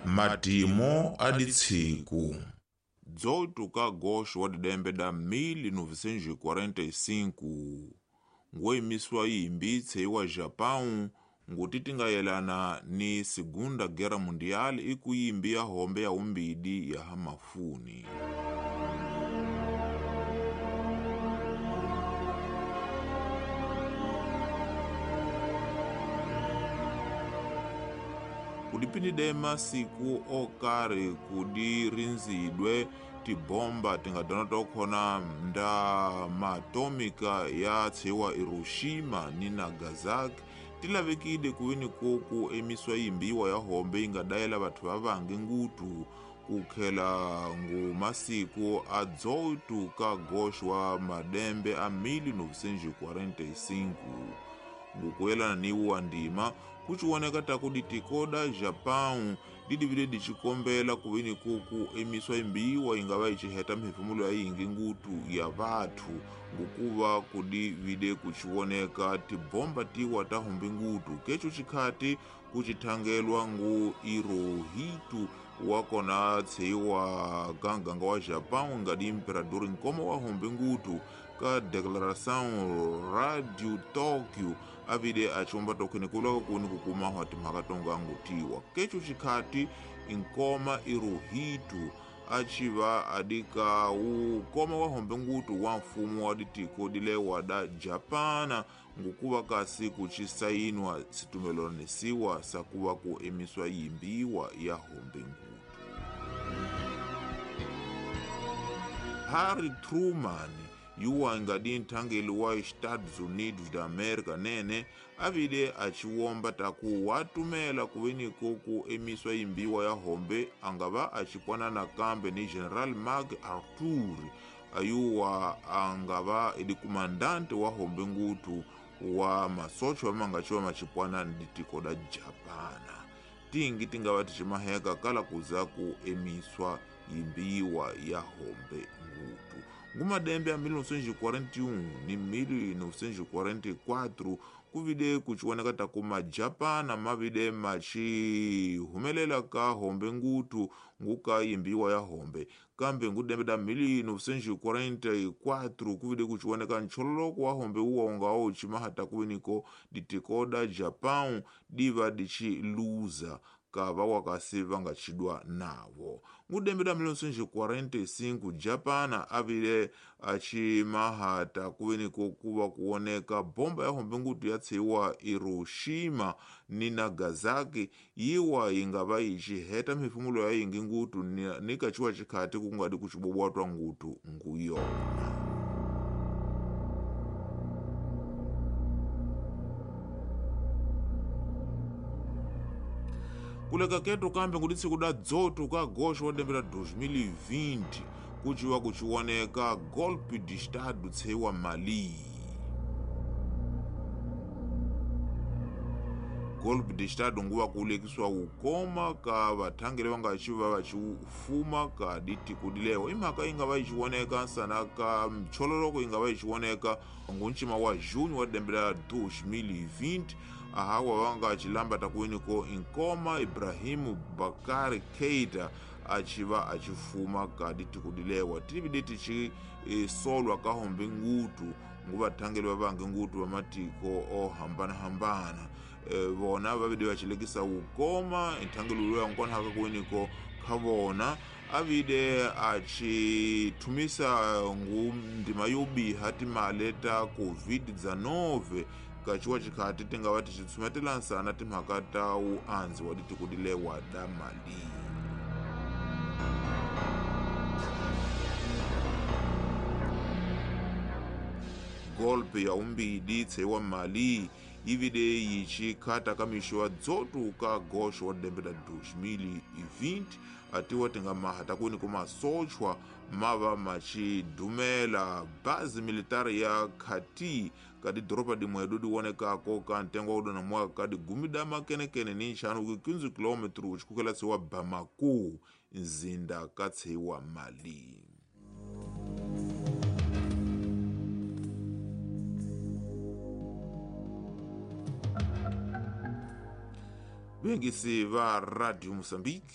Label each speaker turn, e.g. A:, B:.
A: Matimo a ditshiku 18 ka agosto wa didembe da 1945 ngoimiswa yimbi tseiwa Japão nguti tingayelana ni Segunda Guerra Mundial ikuyimbi ya hombe ya umbidi ya hamafuni. Kudipindidema siku okari kudirinzidwe tibomba tingadana tokhona nda maatômica ya tseiwa Hiroshima ni Nagasaki tilavekile kuwini koku emiswa yimbiwa ya hombe ingadayela vathu va vangi ngutu kukhela ngu masiku a 18 ka agosto wa madembe a 1945. Ngukuyelana ni wa ndima kuchiwoneka taku ditikoda Japão didivile dicikombela kuwini kuku emiswa imbiwa ingava iciheta mphefumulo ya yingi ngutu ya vathu ngukuva kudivile kuchiwoneka tibomba tiwa ta hombe ngutu keco chikhati kuchithangelwa ngu Hirohito wakona tseiwa ganganga wa Japão ngadi imperador nkoma wa hombe ngutu ka declaração Radio Tokyo avile achomba tokhene kulaka kuni kukumahwa timhaka tonga ngutiwa keco chikhati inkoma Hirohito achiva adika ukoma wa hombe ngutu wa mfumo wa ditiko dilewa da Japana ngukuva kasi kuchisainwa situmelonesiwa sakuva ku emiswa yimbiwa ya hombe ngutu. Harry Truman yuwa ngadi nthangeli wa Estados Unidos da America nene avile achiwomba taku watumela kuweni koku emiswa imbiwa ya hombe angava achipwana nakambe ni General MacArthur ayuwa angava ili kumandante wa hombe ngutu wa masocho amangachiwa machipwana nditiko da Japana tingi tingava tichimaheka kala kuza ku emiswa imbiwa ya hombe ngutu. Ngumadembe a 1941 ni 1944 kuvide kuchiwoneka taku majapana mavide machihumelela ka hombe ngutu nguka imbiwa ya hombe kambe ngudembe da 1944 kuvide kuchiwoneka nchololoko wa hombe uwa ungawo uchimahata kuwiniko ditikoda Japão diva dichiluza kava wakasi vangachidwa navo. Ngudembe da 1945 Japana avile achimahata kuweniko kuva kuoneka bomba ya hombe ngutu yatseiwa Hiroshima ni Nagasaki yiwa ingava ichiheta mphefumulo ya yingi ngutu nikachiwa chikhati kungadi kuchibobwatwa ngutu nguyona. Kuleka ketu kambe nguditsi kuda dzoto ka agosto wa dembe la 2020 kuchiwa kuchiwoneka golpe de estado tseiwa Mali. Golpe de estado nguva kulekiswa ukoma ka vathangeli vangachiva vachifuma ka ditiko dilewa imhaka ingava ichiwoneka sana ka mchololoko ingava ichiwoneka ngunchima wa junho wa dembe la 2020 ahawa vanga achilamba takuwiniko inkoma Ibrahimu Bakari Keita achiva achifuma ka ditiko dilewa tilivide tichi solwa ka hombe ngutu nguvathangeli vavange ngutu va matiko ohambana-hambana vona vavide vachilekisa ukoma nthangeli luya nkonhaka kuwiniko kha vona avide achithumisa ngu ndima yobiha timale ta COVID-19 kachiwa chikhati tingava tichitsumetela nsana timhaka ta uandzi wa ditiko dilewa da Mali. Golpe ya umbidi tseiwa Mali ivide yichikhata ka mixo wa dzoto ka agosto wa dembe la 2020 atiwa tingamaha takuni kumasochwa mava machidumela base militari ya Kati kadi doropa dimwedu diwonekako ka ntengo wa udona mwaka kadi gumi da makenekene ni nxanu ku 15 km uchikukela tseiwa Bamako nzinda ka tseiwa Mali. Vengisi va Radio Mozambique